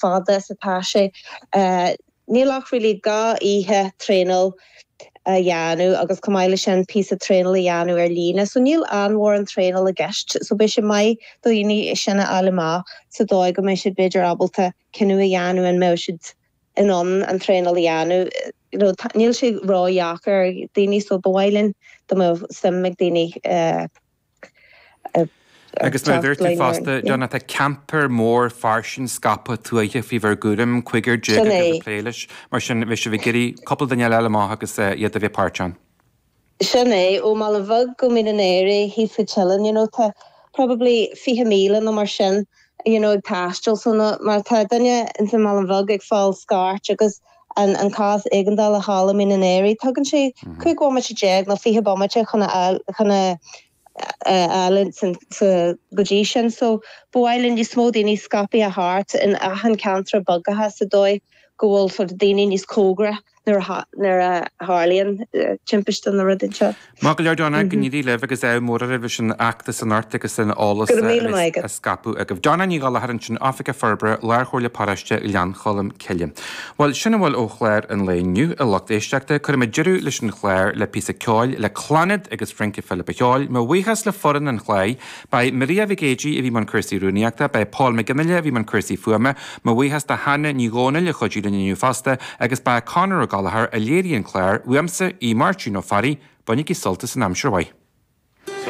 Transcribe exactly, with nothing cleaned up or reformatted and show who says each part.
Speaker 1: fada is atá sé. Níl ach really dhá oíche traenáil a dhéanamh agus chomh maith leis sin píosa traenáil a dhéanamh ar líne, so níl an-mhórán traenáil i gceist, so beidh sé maith do dhaoine sin a fháil amach sa dóigh go mbeidh siad b'fhéidir ábalta cinneadh a dhéanamh an mbeidh siad in ann an traenáil a dhéanamh. You know, níl sé ródheacair ar daoine so ba mhaith linn dá mbeadh suim ag daoine uh,
Speaker 2: uh, Agus mar dúirt tú fosta, Donna, tá camper mór fairsing scaipthe tuaithe faoi bhur gcúram, cúigear déag agaibh ag plé leis, mar sin bheadh sibh ag iarraidh cúpla duine eile amach agus iad a bheith páirteach ann.
Speaker 1: Sin é, ó Mhallain Bheag go Mín an Aoraigh thíos sa Teileann, you know, tá probably fiche míle nó mar sin, you know, ag taisteal, so má tá duine ins an mBaile Bheag ag fáil scairt agus an an cás éigeandála thall i Mín an Aoraigh, tugann sé cúig bhomaite déag nó fiche bomaite chun a chun a fháil go dtí sin. So ba mhaith linn níos mó daoine scaipthe thart in achan ceantar beaga sa dóigh go bhfuil sort of daoine níos cóngaraí nuair a tharlaíonn timpiste nó rud inteacht.
Speaker 2: Maith go leor Donna, go n-éirí libh agus ádh mór oraibh leis an fheachtas anocht agus an eolas a scaipeadh agaibh. Donna Ní Ghallchóir ansin, Oifigeach Forbartha, Lárchomhairle Paróiste Ghleann Cholm Cille. Bhuel, sin a bhfuil ó chlár an lae inniu, a lucht éisteachta. Cuirfidh mé deireadh leis an chlár le píosa ceoil le Clannad agus Rince Philip a Cheoil. Mo bhuíochas le foireann an chláir. Ba é Maria Mhic Éadaigh a bhí i mbun cúrsaí rúnaíochta, ba é Paul McGinley a bhí i mbun cúrsaí fuaime, mo bhuíochas do Hannah Ní Dhomhnaill a chuidigh linn inniu fosta, agus ba é Conor Ó Gallchóir a léirigh an clár, uaimse, Aodh Máirtín Ó Fearraigh, bainigí sult as an aimsir mhaith.